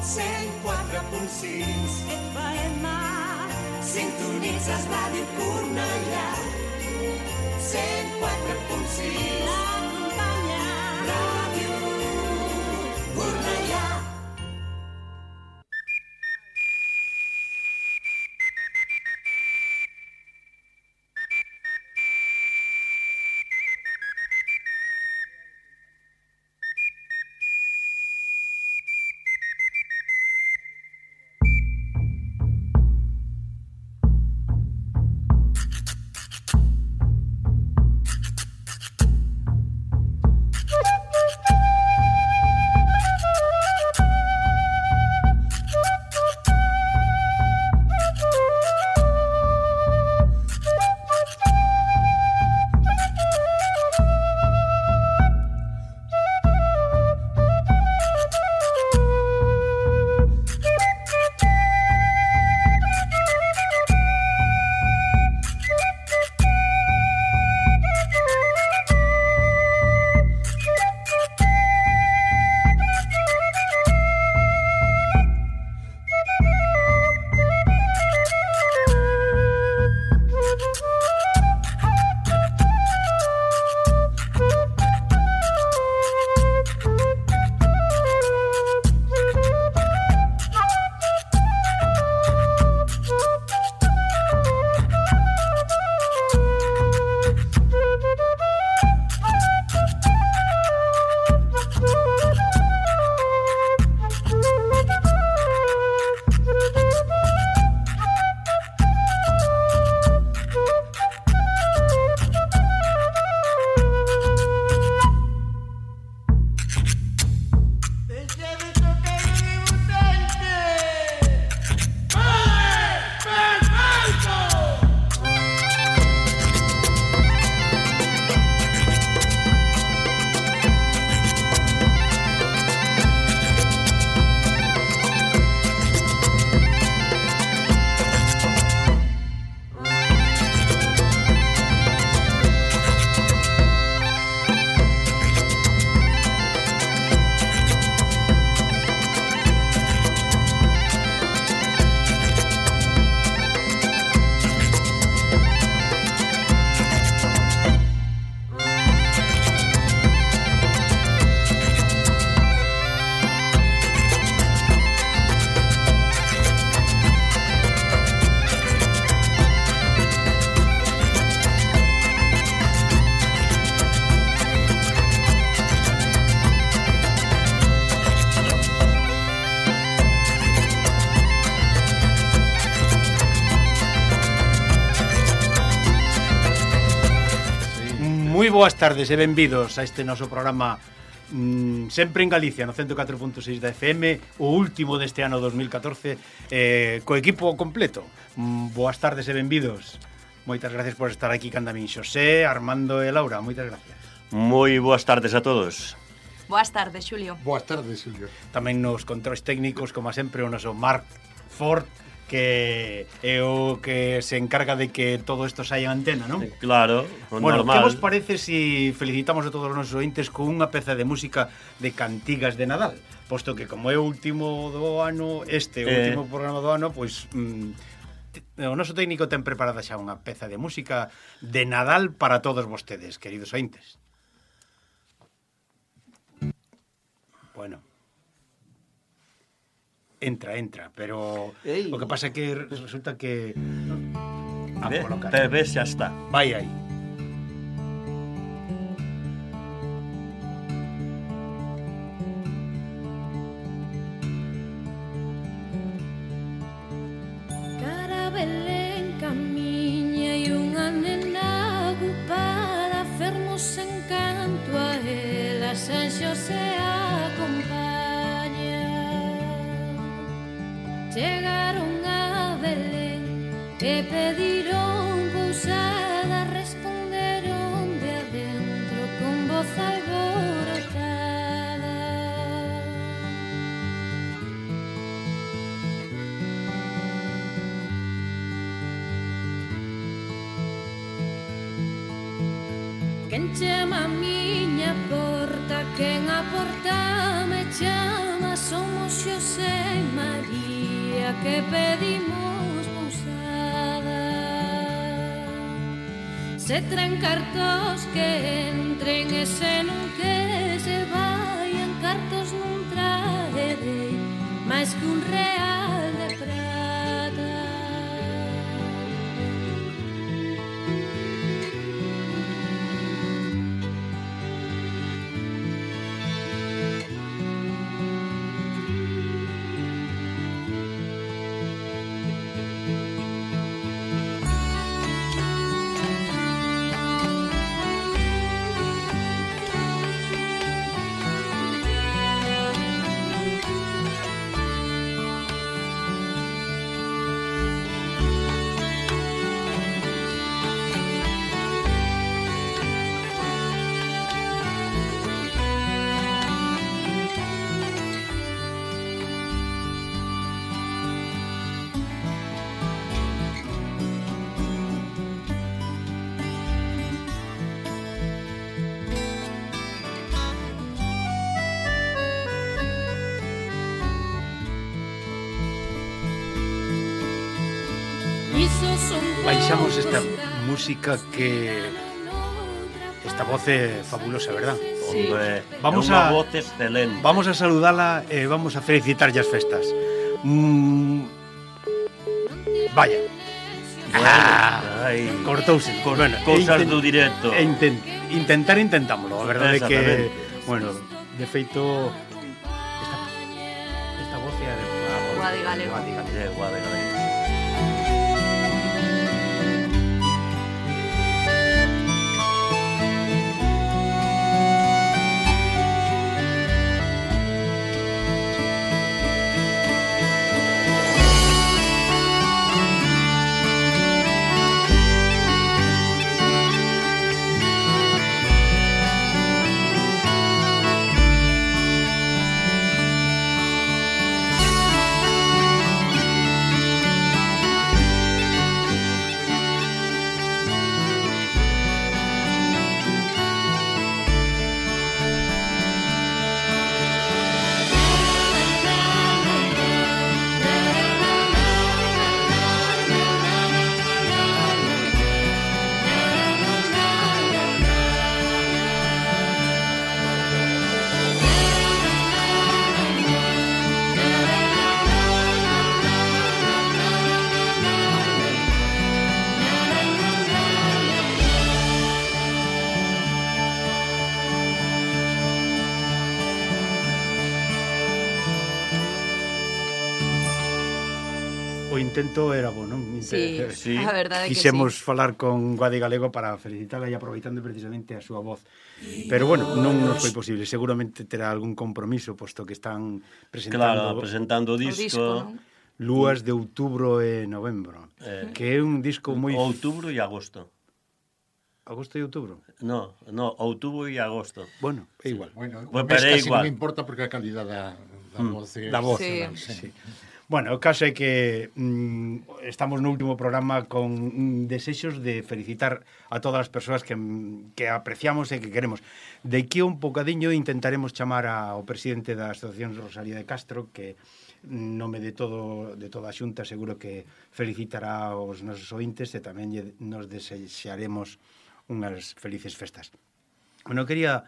104.6 FM. Sintonitzes Ràdio Cornellà. 104.6 Acompanya Ràdio Cornellà. Moi boas tardes e benvidos a este noso programa sempre en Galicia, no 104.6 da FM, o último deste ano 2014, co equipo completo. Boas tardes e benvidos. Moitas gracias por estar aquí canda min Xosé, Armando e Laura. Moitas gracias. Moi boas tardes a todos. Boas tardes, Xulio. Boas tardes, Xulio. Tamén nos controis técnicos, como sempre, o noso Marc Ford, que é o que se encarga de que todo isto saia en antena, non? Claro, bueno, normal. que vos parece si felicitamos a todos os nosos ointes con unha peza de música de cantigas de Nadal? Posto que como é o último do ano, o último programa do ano, pois o noso técnico ten preparada xa unha peza de música de Nadal para todos vostedes, queridos ointes. Bueno, entra, pero o que pasa é que resulta que a colocar. Ves, xa está. Vai aí. Cara Belén camiña e unha nena ocupada, fermos encanto a ela, San Xosé acompaña. Chegaron a Belén e pediron pousada, responderon de adentro con voz alborotada. Quen chama a miña porta, quen a porta me chama, somos Xosé porque pedimos pousada. Se traen cartos que entren e se non que se vayan, cartos non traerei máis que un real de prata. Baixamos esta música que... Esta voz é fabulosa, verdad? Sí. Hombre, Vamos é unha a- voz excelente. Vamos a saludala e vamos a felicitarlle as festas. Vaya. Ai, Cortouse. Bueno, cousas do directo. Intentámoslo, a verdade é que, Exactamente. bueno, de feito esta voz é a de Guadi Galego. Guadi Galego. Guade, galego. O intento era bo, non? Sí, Sí. a verdade é que Quixemos falar con Guadi Galego para felicitala e aproveitando precisamente a súa voz. Pero bueno, non nos foi posible. Seguramente terá algún compromiso, posto que están Claro, presentando presentando o sí. O disco. disco, non? Lúas de outubro e novembro, que é un disco moi... Outubro e agosto. Agosto e outubro? No, outubro e agosto. Bueno, é igual. Bueno, Pues o mes pero é casi igual. non importa porque a calidade da voz é Da voz. Sí. excepcional, sí. Bueno, o caso é que estamos no último programa con desexos de felicitar a todas as persoas que apreciamos e que queremos. De aquí un bocadiño intentaremos chamar ao presidente da Asociación Rosalía de Castro, que nome de toda a xunta seguro que felicitará aos nosos ointes e tamén nos desexaremos unhas felices festas. Bueno, quería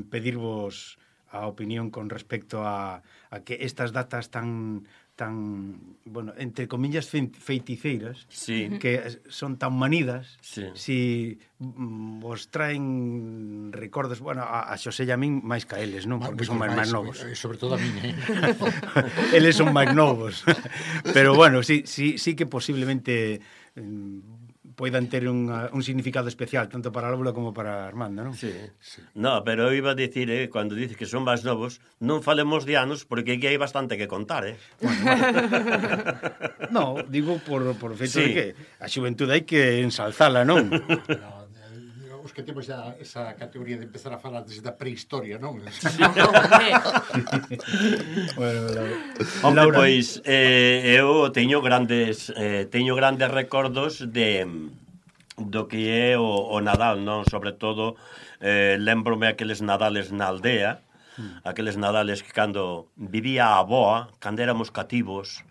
pedirvos a opinión con respecto a que estas datas tan bueno, entre comillas feiticeiras, Sí. que son tan manidas, Sí. si vos traen recordos, bueno, a Xosé e a min máis ca eles, non? Porque son máis novos. Sobre todo a mí, Eles son máis novos. Pero bueno, sí que posiblemente poidan ter un significado especial tanto para Lóbula como para Armando, non? Sí. No, pero eu iba a dicir, cando dices que son máis novos, non falemos de anos, porque aquí hai bastante que contar, No, digo por feito Sí. de que a xuventude hai que ensalzala, non? Os que temos xa esa categoría de empezar a falar desde a prehistoria, non? Bueno, Hombre, pois, eu teño grandes recordos do que é o Nadal, non? Sobre todo, lembrome aqueles Nadales na aldea, aqueles Nadales que cando vivía a avoa, cando éramos cativos,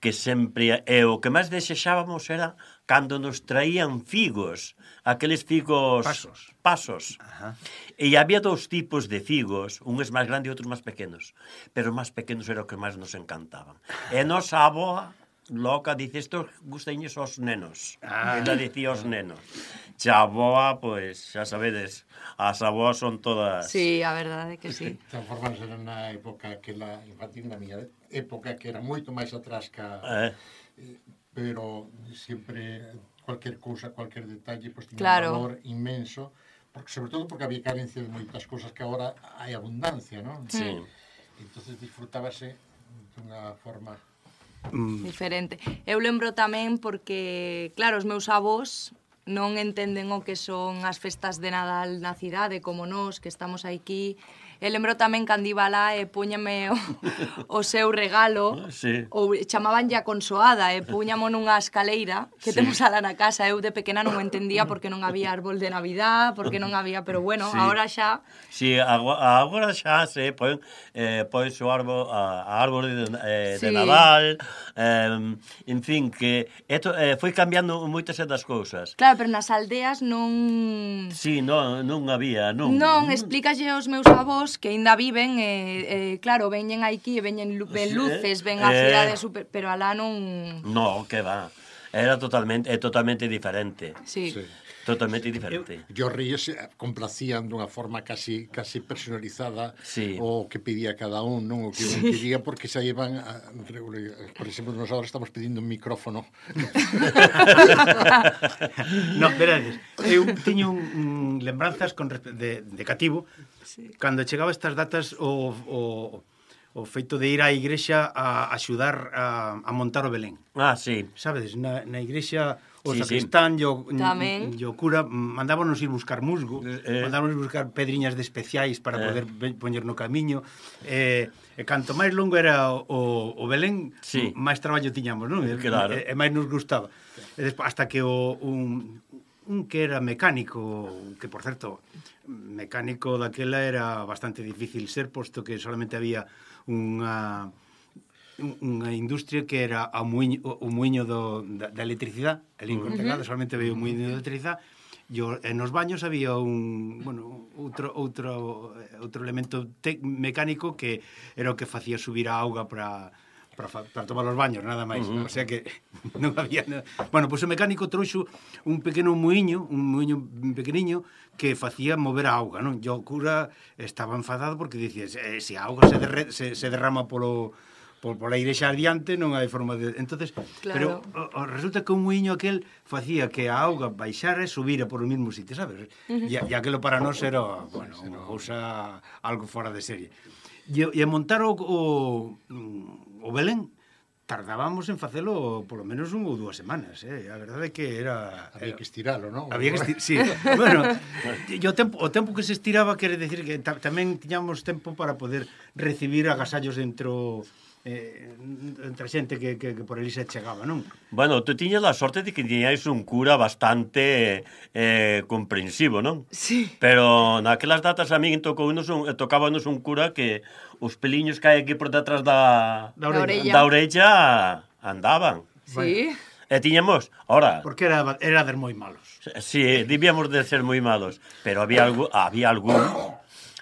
que sempre... E o que máis desexábamos era cando nos traían figos, aqueles figos... Pasos. Ajá. E había dous tipos de figos, uns máis grandes e outros máis pequenos, pero os máis pequenos era o que máis nos encantaban. E nosa avoa loca dice, estos gusteños aos nenos. Ela dicía aos nenos. Xa avoa, pois, xa sabedes, as avoas son todas... Sí, a verdade é que sí. Transformándose na época que la infantil, na miña época, que era moito máis atrás ca... pero sempre cualquier cousa, cualquier detalle, pues, tiña un valor inmenso, porque, sobre todo porque había carencia de moitas cousas que agora hai abundancia, non? Sí. Entonces disfrutábase dunha forma... diferente. Eu lembro tamén porque, claro, os meus avós non entenden o que son as festas de Nadal na cidade, como nós, que estamos aquí. E lembro tamén cando iba lá e puñame o seu regalo, ou chamaban ya consoada, e puñamo nunha escaleira que temos alá na casa. Eu de pequena non entendía porque non había árbol de Navidad, porque non había, pero bueno, agora xa... Sí, agora xa se pois o árbol de Nadal, en fin, que foi cambiando moitas das cousas. Claro, pero nas aldeas non... Sí, non había, non. Non, explícalle aos meus avós que ainda viven, claro, veñen aquí, veñen luces, ven a cidade super, pero alá non... No, que va. Era totalmente diferente. Sí. Totalmente diferente. Os ríos complacían dunha forma casi personalizada o que pedía cada un, non? O que pedía, porque xa iban por exemplo, nos agora estamos pedindo un micrófono. No, verades, eu tiño lembranzas de cativo, cando chegaba estas datas o feito de ir á igrexa a axudar a montar o Belén. Ah, sí. Sabedes, na igrexa o sacristán e o cura mandábanos ir buscar musgo, mandábanos buscar pedriñas de especiais para poder poñer no camiño, e canto máis longo era o Belén, máis traballo tiñamos, non? Claro. E máis nos gustaba. E despois, hasta que un que era mecánico, que por certo, mecánico daquela era bastante difícil ser, posto que solamente había unha industria que era o muiño da electricidade, el incorpegado, solamente había un muiño de electricidade, e nos baños había outro elemento mecánico que era o que facía subir a auga para tomar os baños, nada máis. O sea que non había nada. Bueno, pois o mecánico trouxo un pequeno muiño pequeniño que facía mover a auga, non? E o cura estaba enfadado porque dicía, se a auga se derrama pola igrexa adiante, non hai forma de... Entonces, pero resulta que un muiño aquel facía que a auga baixara e subira por o mesmo sitio, sabes? E aquelo para nós era, bueno, unha cousa algo fora de serie. E montar o Belén tardábamos en facelo polo menos 1 ou 2 semanas, a verdade é que era... Había que estiralo, non? Había que sí. Bueno, o tempo que se estiraba quere decir que tamén tiñamos tempo para poder recibir agasallos entre a xente que por ali se chegaba, non? Bueno, tú tiñas a sorte de que tiñais un cura bastante comprensivo, non? Sí. Pero naquelas datas a min tocábanos un cura que os peliños que hai aquí por detrás da orella andaban. Sí. E tiñamos, ahora... Porque era de moi malos. Sí, debíamos de ser moi malos, pero había algún...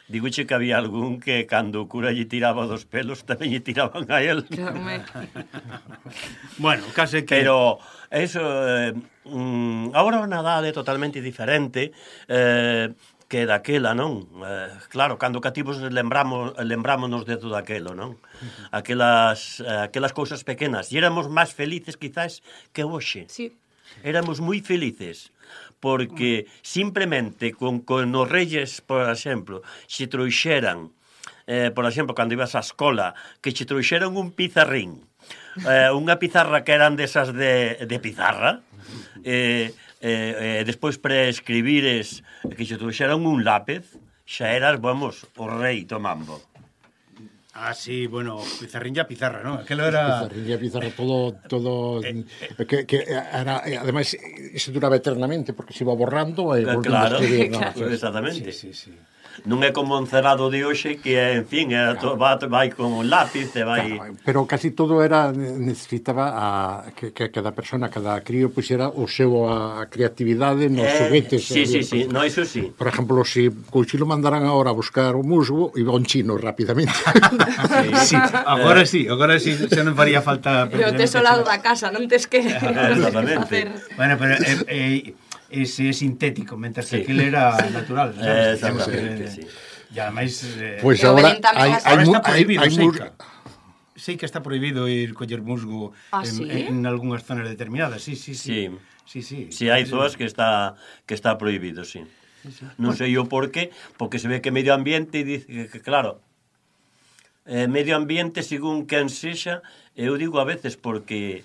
Digoche que había algún que cando o cura lle tiraba dos pelos tamén lle tiraban a él. Bueno, case que... Pero eso, agora o Nadal é totalmente diferente que daquela, non? Claro, cando cativos lembrámonos de todo aquelo, non? Aquelas cousas pequenas. E éramos máis felices, quizás, que hoxe. Sí. Éramos moi felices. Porque simplemente con os reyes, por exemplo, se trouxeran, por exemplo, cando ibas á escola, que che trouxeran un pizarrín, unha pizarra que eran desas de pizarra, despois para escribires que che trouxeran un lápez, xa eras, vamos, o rei do mambo. Ah, sí, bueno, pizarrín ya pizarra, ¿no? Aquelo era... Pizarrín ya pizarra, todo... que era, además, eso duraba eternamente, porque se iba borrando e volvendo a escribir. Claro, exactamente. Sí. Non é como un cerrado de hoxe que, en fin, vai con un lápiz e vai... Pero casi todo necesitaba que cada persona, cada crío puxera o seu a creatividade nos xoguetes. Sí, no, iso sí. Por exemplo, se Couchilo mandaran agora a buscar o musgo, iba un chino rapidamente. Agora sí, xa non faría falta... Pero tes o lado da casa, non tes que... Exactamente. Bueno, pero ese é sintético, mentre que aquilo era natural. Exactamente, sí. E ademais... Pois agora está prohibido, sei que está prohibido ir coller musgo en algunhas zonas determinadas, sí. Sí, hai zonas que está prohibido, sí. Non sei o porqué, porque se ve que medio ambiente dice que claro, medio ambiente según quen sexa, eu digo a veces porque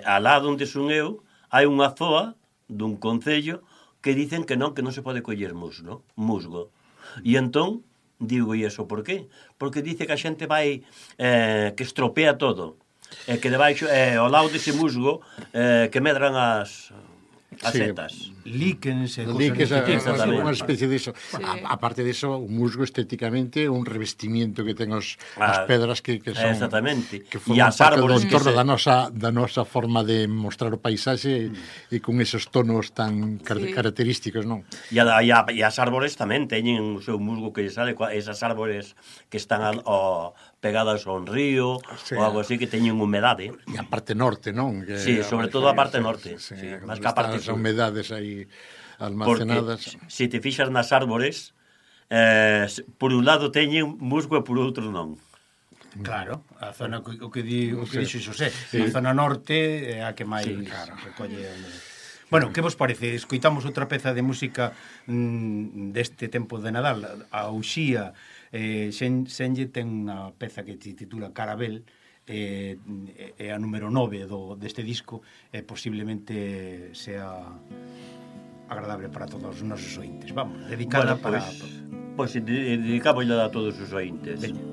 alá onde son eu hai unha zoa dun concello que dicen que non se pode coller musgo. E entón, digo, e iso por qué? Porque dice que a xente vai, que estropea todo, e que debaixo, ao lado dese musgo, que medran as setas. Líquens, unha especie de iso. Aparte de iso, o musgo estéticamente é un revestimiento que ten as pedras que son... Exactamente. Que forman parte do entorno da nosa forma de mostrar o paisaxe e con esos tonos tan característicos, non? E as árbores tamén teñen o seu musgo que lle sale, esas árbores que están pegadas a un río ou algo así que teñen humedade. E a parte norte, non? Sí, sobre todo a parte norte. Mas que a parte as humedades aí almacenadas. Porque se te fixas nas árbores, por un lado teñen musgo e por outro non. Claro, a zona o que dixo Xosé, a zona norte é a que máis recolle... Bueno, que vos parece? Escoitamos outra peza de música deste tempo de Nadal, a Uxía. Xenlle ten unha peza que se titula Carabel, é a número 9 deste disco, e posiblemente sea agradable para todos os nosos ointes. Vamos, dedicada para... Pois dedicámosla a todos os ointes. Veña.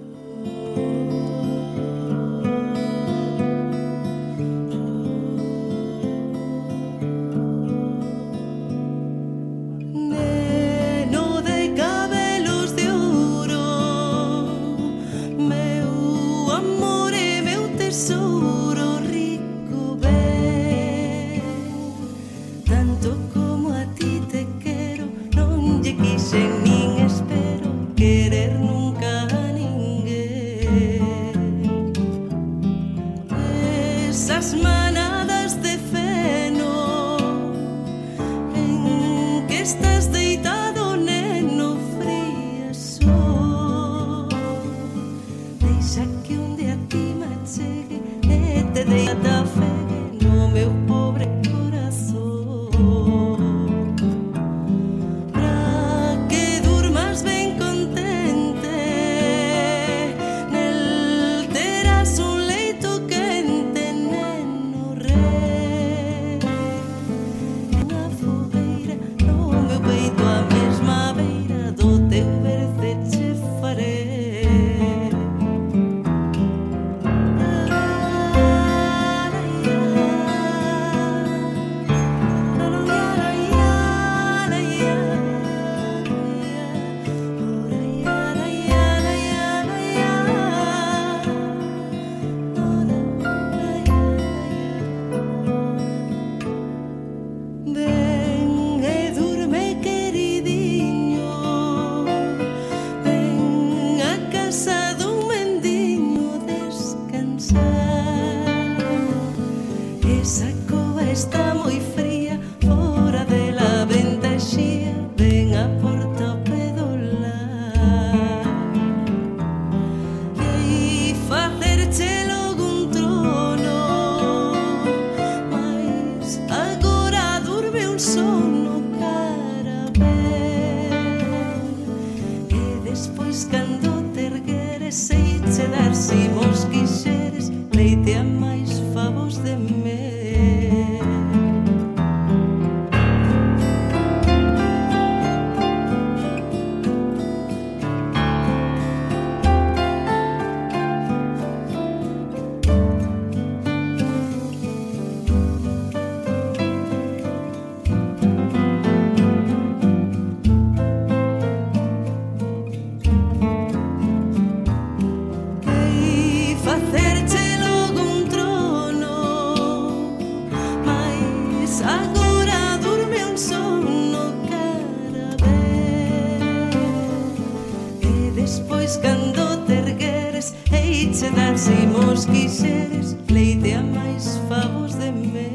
che dar se mos quixeres, pleitea máis favos de me.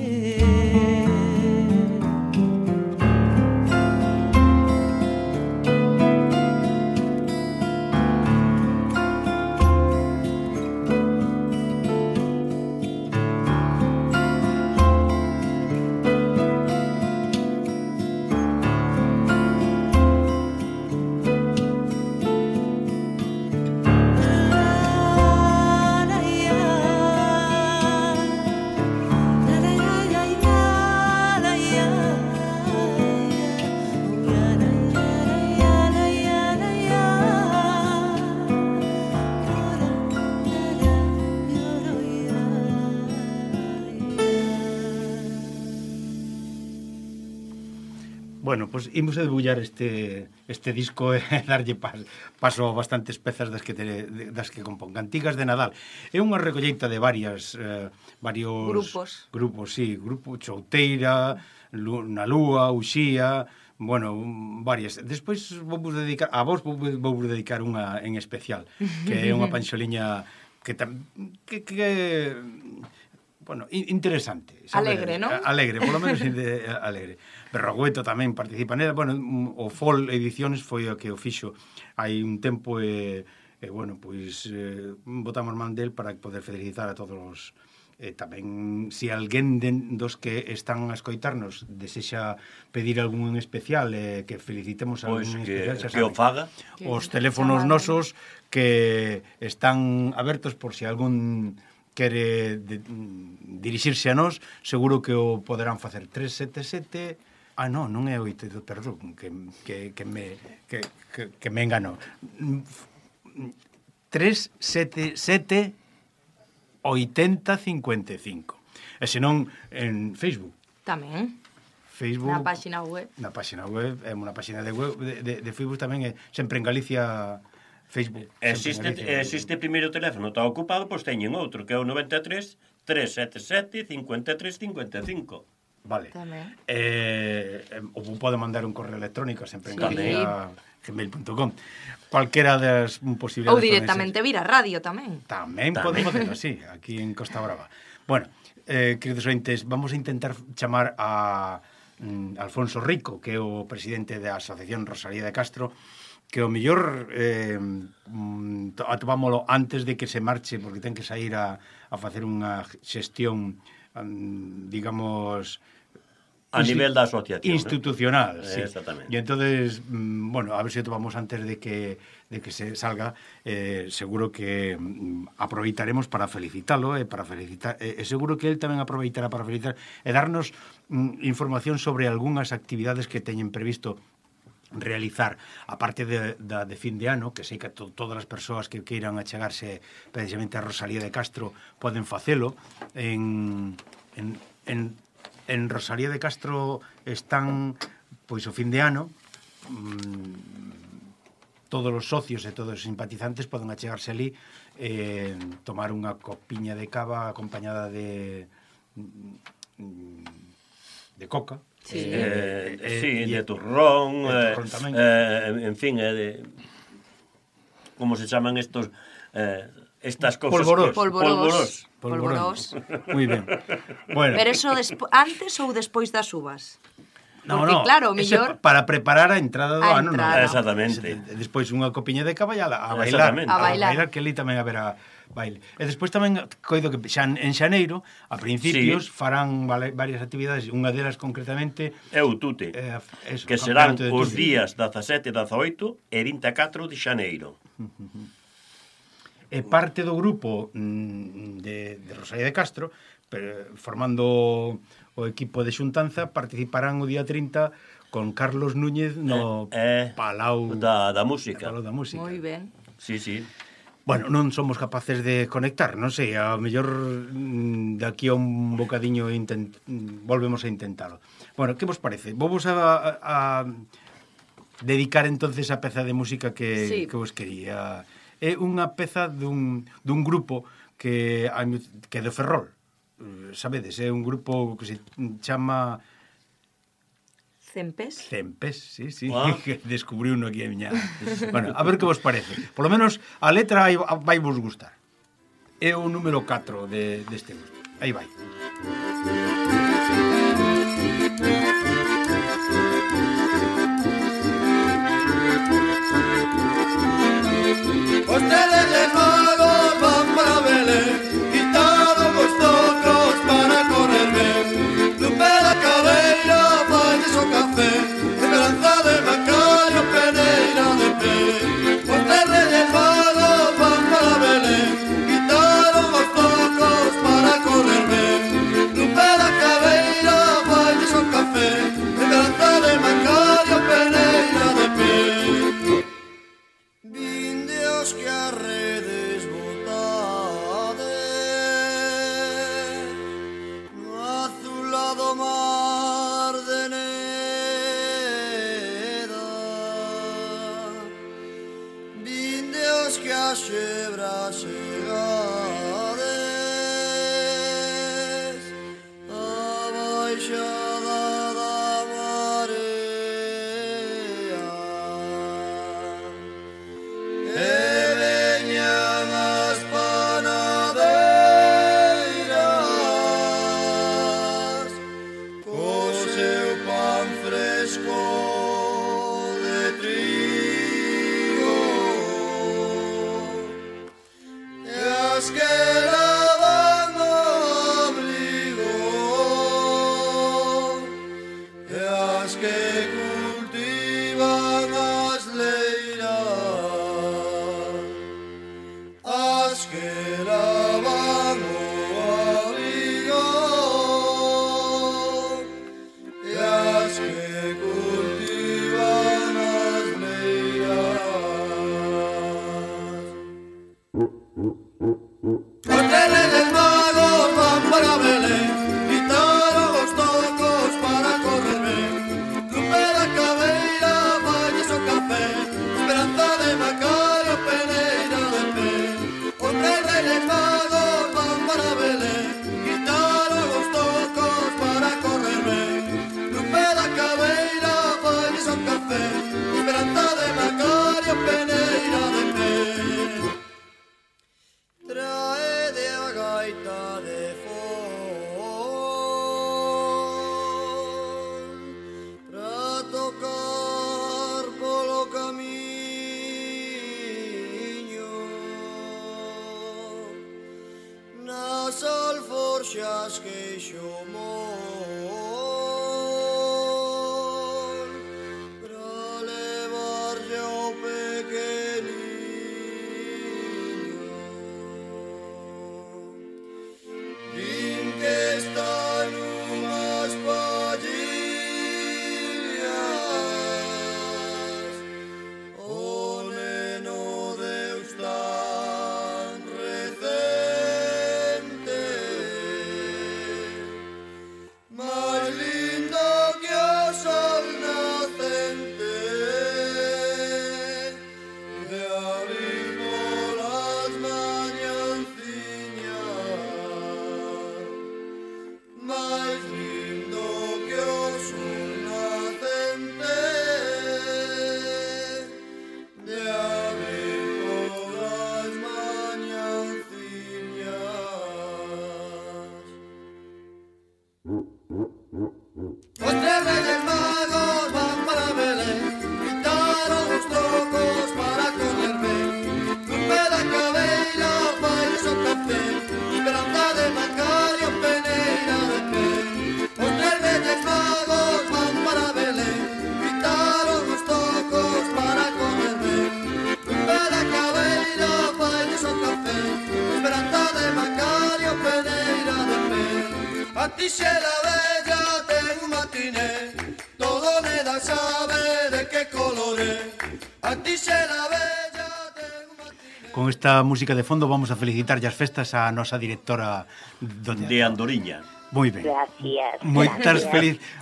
Bueno, pois imos a debullar este disco e darlle paso a bastantes pezas das que compón. Cantigas de Nadal. É unha recolleita de varios grupos, sí, grupo Chouteira, Na Lúa, Uxía, bueno, varias. Despois vou dedicar unha en especial, que é unha panxoliña que bueno, interesante, sabe? Alegre, non? Alegre, polo menos alegre. Berrogueto tamén participa nela. Bueno, o FOL Ediciones foi o que o fixo hai un tempo e bueno, pois botamos man del para poder felicitar a todos os tamén, se alguén dos que están a escoitarnos desexa pedir algún en especial que felicitemos a algún en especial, xa sabe, que o faga. Os teléfonos nosos que están abertos por se algún quere dirixirse a nós, seguro que o poderán facer. 377... non é 8, perdón, que me engano. 377 8055. E senón en Facebook. Tamén. Facebook. Na página web. Na página web, é unha página de web de Facebook tamén, sempre en Galicia... Facebook. Existe primeiro teléfono, está ocupado, pois teñen outro, que é o 93 377 53 55. Vale. Ou pode mandar un correo electrónico sempre en gmail.com. Cualquera das posibilidades. Ou directamente vir a radio tamén. Tamén podemos facerlo así, aquí en Costa Brava. Bueno, queridos ointes, vamos a intentar chamar a Alfonso Rico, que é o presidente da Asociación Rosalía de Castro, que o mellor atopámolo antes de que se marche, porque ten que sair a facer unha xestión, digamos... A nivel da asociación. Institucional, sí. Exactamente. E entonces, bueno, a ver se atopamos antes de que se salga, seguro que aproveitaremos para felicitalo, seguro que él tamén aproveitará para felicitar e darnos información sobre algunhas actividades que teñen previsto realizar, aparte de fin de ano, que sei que todas as persoas que queiran achegarse precisamente a Rosalía de Castro poden facelo. En Rosalía de Castro están, pois, o fin de ano, todos os socios e todos os simpatizantes poden achegarse ali, tomar unha copiña de cava acompañada de coca. Sí, de turrón, en fin, como se chaman estos estas cosas? Polvorós. Moi ben. Bueno. Pero eso antes ou despois das uvas? Porque, claro, mellor... para preparar a entrada do ano. Exactamente. Despois unha copiña de cava e a bailar, que ali tamén haberá baile. E despois tamén coido que en xaneiro, a principios, farán varias actividades, unha delas concretamente é o Tute, que serán os días 17, 18 e 24 de xaneiro. E parte do grupo de Rosalía de Castro, formando o equipo de xuntanza, participarán o día 30 con Carlos Núñez no Palau da Música. Moi ben. Sí. Bueno, non somos capaces de conectar, non sei, a mellor daqui a un bocadiño volvemos a intentalo. Bueno, que vos parece? Vamos a dedicar entonces a peza de música que vos quería. É unha peza dun grupo que é de Ferrol, sabedes, é un grupo que se chama... Cempés, sí, que descubriu uno aquí a miña... Bueno, a ver que vos parece. Por lo menos a letra vai vos gustar. é o número 4 deste gusto. Aí vai. Os Reyes Magos van para Belén, quitaron os tocos para correr ben. Lupe da cabeira, valles o café, esperanza de Macario, peneira de pé. Os Reyes Magos van para Belén, quitaron os tocos para correr ben. Lupe da cabeira, valles o café, esperanza de Macario, peneira de pé. Vindeos que a redes botades no azulado mar de Neda. Vindeos que a xebras chegades a baixada da marea. E veñan as panadeiras co seu pan fresco de trigo, e as que lavan o abrigo, e as que cultivan as leiras, as que lavan o abrigo, e as que cultivan as leiras. Os Reyes Magos van para Belén, quitaron os tocos para correr ben. Lupe da cabeira, valles o café, esperanza de Macario, peneira de pé. Os Reyes Magos van para Belén, quitaron os tocos para correr ben. Lupe da cabeira, valles o café, esperanza de Macario, peneira de pé. Traede a gaita de fon pra tocar polo camiño, nas alforxas queixo mon pra levarlle ao pequeniño. Din que está nunhas pallillas o neno Deus tan recente, máis lindo que o sol nacente, de abrir polas mañanciñas, máis lindo que o sol nacente, de abrir polas mañanciñas. Os Reyes Magos van para Belén, quitaron os tocos para correr ben. Lupe da cabeira, valles o café, esperanza de Macario, peneira de pé. Os Reyes Magos van para Belén, quitaron os tocos para correr ben. Lupe da cabeira, valles o café, esperanza de Macario, peneira de pé. A ti se la bella ten un matiné, todo Neda sabe de que colore. A ti se la bella ten un matiné. Con esta música de fondo vamos a felicitar as festas a nosa directora de Andoriña. Moi ben. Gracias.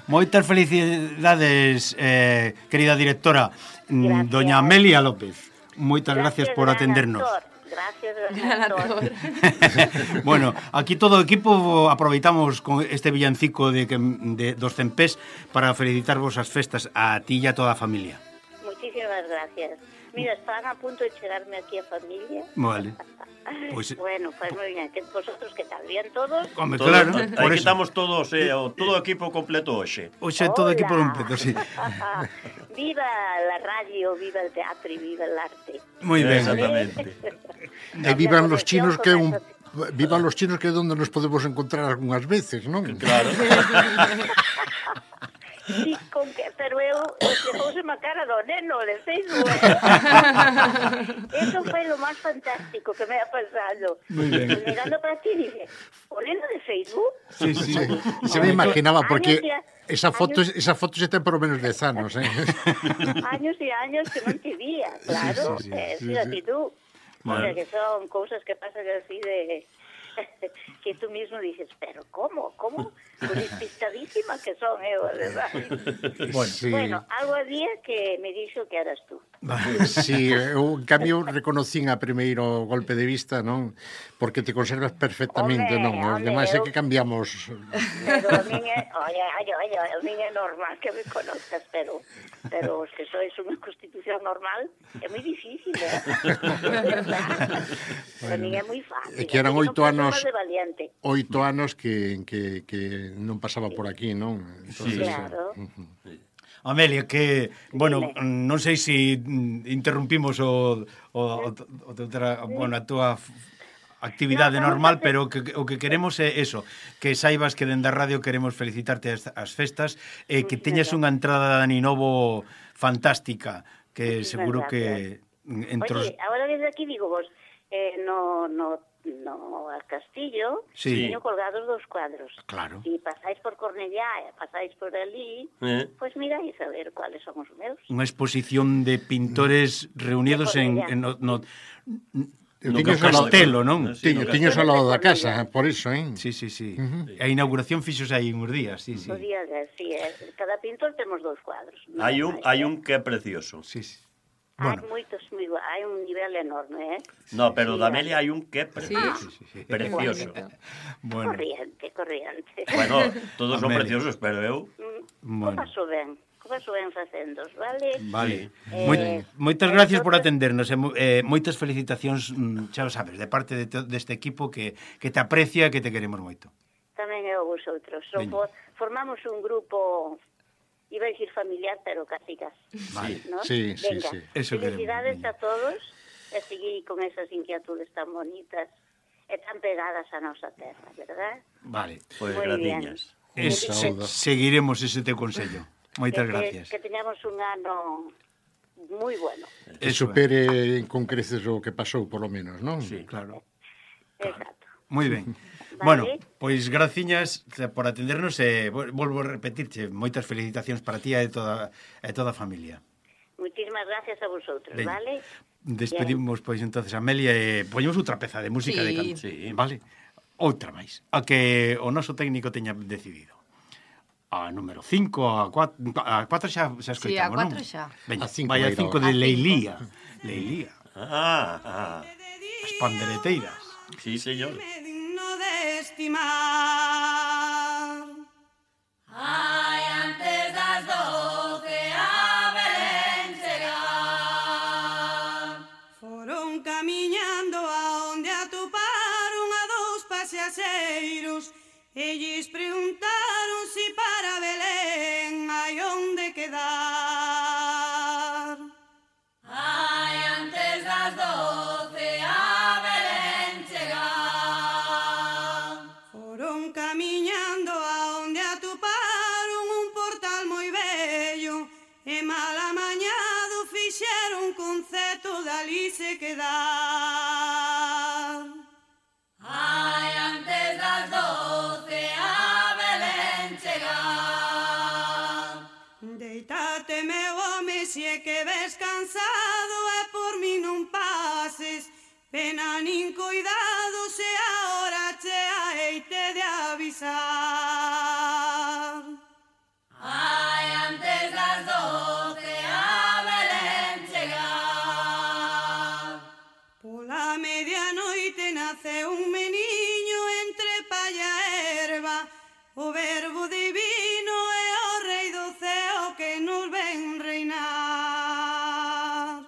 Moitas felicidades, querida directora, doña Amelia López. Moitas gracias por atendernos. Gracias, doctor. Bueno, aquí todo o equipo aproveitamos con este villancico de dos Cempés para felicitarvos as festas a ti e a toda a familia. Muchísimas gracias. Mira, estaban a punto de chegarme aquí a familia. Vale. Pues, bueno, pues moi ben, que vosotros que tal, bien todos? Home, claro. Aí que estamos todos, todo o equipo completo hoxe. Hoxe todo o equipo completo, sí. Viva la radio, viva el teatro y viva el arte. Moi ben. Exactamente. E vivan los chinos que vivan los chinos que é onde nos podemos encontrar algunhas veces, non? Claro. Sí, pero eu depouse a cara do neno de Facebook. Eso foi lo máis fantástico que me ha pasado. Muy bien. Mirando para ti, dije, ¿o neno de Facebook? Sí, sí. Se me imaginaba, porque esa foto se ten por lo menos 10 anos, Años e años que non te vía, claro. Fíjate tú. O sea, que son cousas que pasan así de... que tú mismo dices, pero ¿cómo? Pues despistadísima que son, ¿verdad? Bueno, algo había que me dixo que eras tú. Sí, eu en cambio reconocín a primeiro golpe de vista, non? Porque te conservas perfectamente, non? Os demais é que cambiamos. Pero a min é, a min é normal que me conozcas, pero os que sois unha constitución normal é moi difícil, A min é moi fácil. É que eran 8 anos que non pasaba por aquí, non? Entonces, claro. Amelia, que, bueno, non sei se interrumpimos a túa actividade normal, pero o que queremos é eso, que saibas que dende a radio queremos felicitarte as festas e que teñas unha entrada de Ani Novo fantástica, que seguro que... Oye, agora desde aquí digo vos, no al castillo, teño colgados 2 cuadros. Claro. Si pasáis por Cornellá e pasáis por ali, pues miráis a ver cuáles son os meus. Unha exposición de pintores reunidos no castelo, non? Tiños ao lado da casa, por iso, Sí. A inauguración fixos aí uns días, sí. Os días, sí. Cada pintor temos 2 cuadros. Hai un que é precioso. Sí. Bueno. Hai un nivel enorme, No, pero da Amelia hai un que é precioso. Sí. Precioso. Bueno. Corriente. Bueno, todos son preciosos, pero eu... Bueno. Paso ben facendos, vale? Vale. Moitas gracias por atendernos e moitas felicitacións, xa o sabes, de parte deste equipo que te aprecia e que te queremos moito. Tamén eu vosotros. Formamos un grupo... Iba a decir familiar, pero casi. Vale. ¿No? Sí. Eso felicidades a todos e seguir con esas inquietudes tan bonitas e tan pegadas a nosa terra, verdad? Vale. Pois gratiñas. Seguiremos ese teu consello. Moitas gracias. Que teñamos un ano moi bueno. E supere con creces o que pasou, por lo menos, non? Sí, claro. Exacto. Moi ben. Bueno, pois graciñas por atendernos e volvo a repetirche moitas felicitacións para ti e toda a familia. Muchísimas gracias a vosotros, vale? Despedimos pois entonces a Amelia e poñemos outra peza de música de canto, vale? Outra máis, a que o noso técnico teña decidido. A número 5, a 4 xa escoitamos, non? Sí, a 4 xa. Veña, vai a 5 de Leilía. As pandereteiras. Sí, señor. Ai, antes das 12 a Belén chegar, foron camiñando a onde atoparon a 2 paseaseiros e lles preguntaron si para Belén hai onde quedar. ai, antes das 12 a Belén chegar, foron camiñando a onde atoparon un portal moi bello e mal amañado fixeron concerto dali se quedar. ai, antes das 12 a Belén chegar, Deitate, meu home, se é que ves cansado e por mí non pases pena nin cuidado se a hora chea heite de avisar. ai, antes das 12 a Belén chegar, Pola medianoite nace un meniño entre palla e erva, o verbo divino é o rei do ceo que nos ven reinar.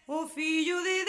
o fillo de